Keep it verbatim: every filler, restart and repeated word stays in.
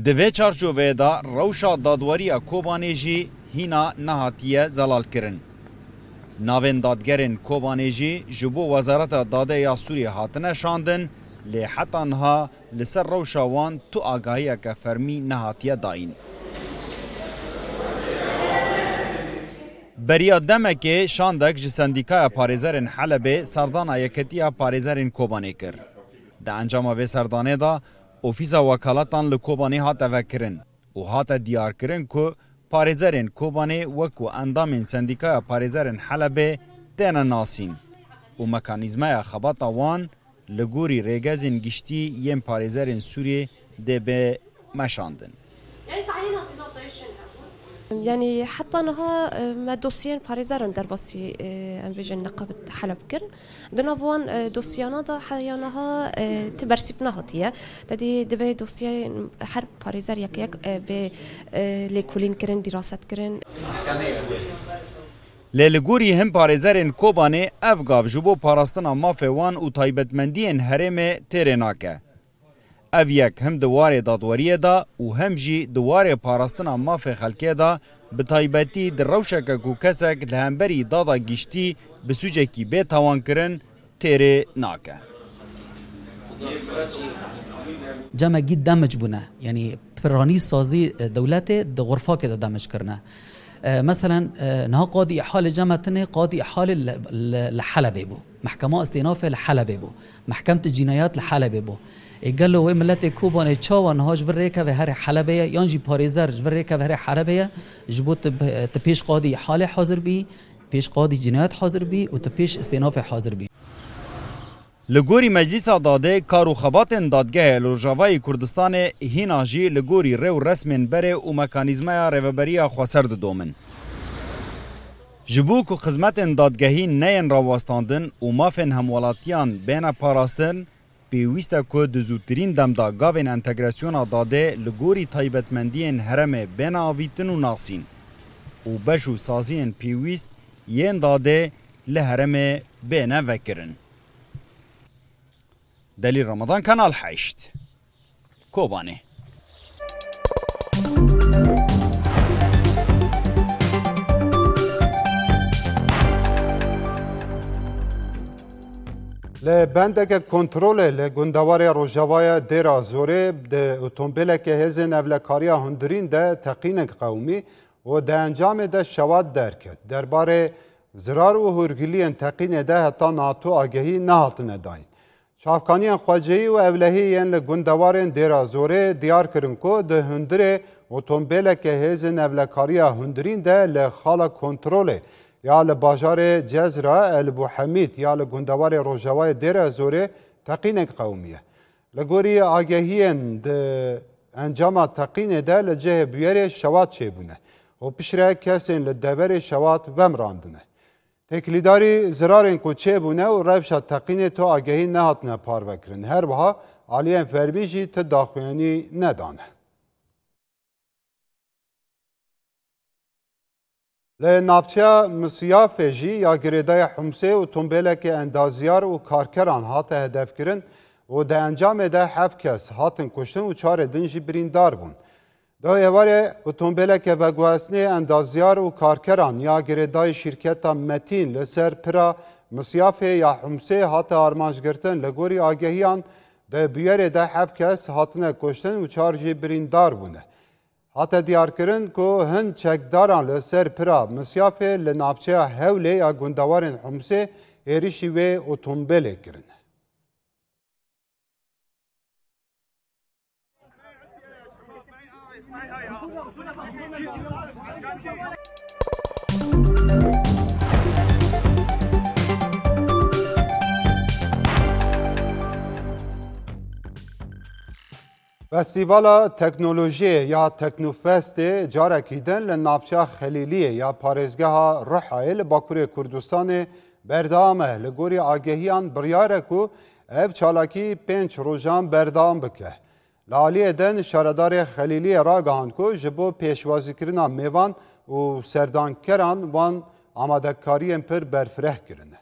Di vê çarçoveyê de rewşa dadweriya Kobanê jî hîna nehatiye zelalkirin. Navên dadgerên Kobanê jî ji bo Wezareta Dadê ya Sûriyê hatine şandin, lê heta niha li ser rewşa wan tu agahiyeke fermî nehatiye dayîn. Beriya demekê şandek ji Sendîkaya Parêzerên Helebê serdana Yeketiya Parêzerên Kobanê kir. Di encama vê serdanê de ofîsa wekaletan li Kobanê hate vekirin û hate diyarkirin ku parêzerên Kobanê wekû endamên Sendîkaya Parêzerên Helebê têne nasîn û mekanîzmaya xebata wan li gorî rêgezên giştî yên parêzerên Sûriyê dê bê meşandin. Yanî heta niha e, me dosyên parêzeran derbasî e, em bêjin neqabit Heleb kirin. Di nav wan e, dosyana de heya niha e, ti bersîv nehatiye. Te dî divê dosyeyên her parêzer yek yek e, bê e, lêkolîn kirin, dîraset kirin. Lê li gorî hin parêzerên Kobanê ev gav ji bo parastina mafê wan û taybetmendiyên herêmê têrê nake. Ev yek him di warê dadweriyê de û hem jî di warê parastina mafê xelkê de, bi taybetî di rewşeke ku kesek li hemberî dada giştî bi sûcekî bê tawankirin, têrê nake. Cemekî demec bûne. Yanî piranî sazî dewletê di xurfakê de demec kirine. E, meselen, e, niha qadî îhalê cem me tinê, qadî îhalê li, li, li Helebê bû. Mehkema Îstînafê li Helebê bû. Mehkemte Cînayat li Helebê bû. Ê gelo wê miletê Kobanê çawa niha ji vir rêkeve herê Helebê ye, yan jî parêzer ji vir rêkeve herê Helebê ye, ji bo tu, tu pêş qadî îhalê hazir bî, pêş qadî cînayat hazir bî û tu pêş îstînafê hazir bî. Li gorî Meclîsa Dadê, kar û xebatên dadgehê li Rojavayê Kurdistanê hîna jî li gorî rê û resmên berê û mekanîzmaya rêveberiya xweser didomin. Ji bo ku xizmetên dadgehî neyên rawestandin û mafên hemwelatiyan bêne parastin, pêwîst e ku di zûtirîn dem de gavên entegrasyona dadê li gorî taybetmendiyên herêmê bêne avîtin û nasîn û beş û saziyên pêwîst yên dadê li herêmê bêne vekirin. Delîl Ramadan, Kanal heşt, Kobanê. Li bendeke kontrolê li gundewarê Rojavayê Dêra Zorê di otombêleke hêzên ewlekariya hundirîn de teqînek qewimî û di encamê de şewat derket. Derbarê zirar û hûrgiliyên teqînê de heta niha tu agehî nehatine dayîn. Çavkaniyên xwecihî û ewlehî yên li gundewarên Dêra Zorê diyar kirin ku di hundirê otombêleke hêzên ewlekariya hundirîn de li xala kontrolê ya li bajarê Cezra El Buhemîd ya li gundewarê rojavayê Dêra Zorê teqînek qewimiye. Li gorî agehiyên di encama teqînê de li cihê bûyerê şewat çêbûne û piştre kesên li deverê şewat vemirandine. Têkilîdarî zirarên ku çêbûne û rewşa teqînê tu agehî nehatine parvekirin. Her wiha aliyên fermî jî ti daxuyanî nedane. Li navçeya Misyafê jî ya girêdayî Humsê otombêleke endazyar û karkeran hate hedefkirin û di encamê de heft kes hatin kuştin û çarê din jî birîndar bûn. Di êvarê otombêleke veguhestinê endazyar û karkeran ya girêdayî şîrketa Metîn li ser pira Misyafê ya Humsê hate armancgirtin. Li gorî agehiyan di bûyerê de heft kes hatine kuştin û çar jî birîndar bûne. Hate diyarkirin ku hin çekdaran li ser pira Misyafê li navçeya Hewlê ya gundewarên Humsê êrişî wê otombêlê kirine. Festîvala Teknolojiyê ya Teknofestê carekî din li navçeya Xelîliyê ya parêzgeha Rihayê li Bakurê Kurdistanê berdewam e. Li gorî agehiyan biryar e ku ev çalakî pênc rojan berdewam bike. Li aliyê din şaredarê Xelîliyê ragihand ku ji bo pêşwazîkirina mêvan û serdankeran wan amadekariyên pir berfireh kirine.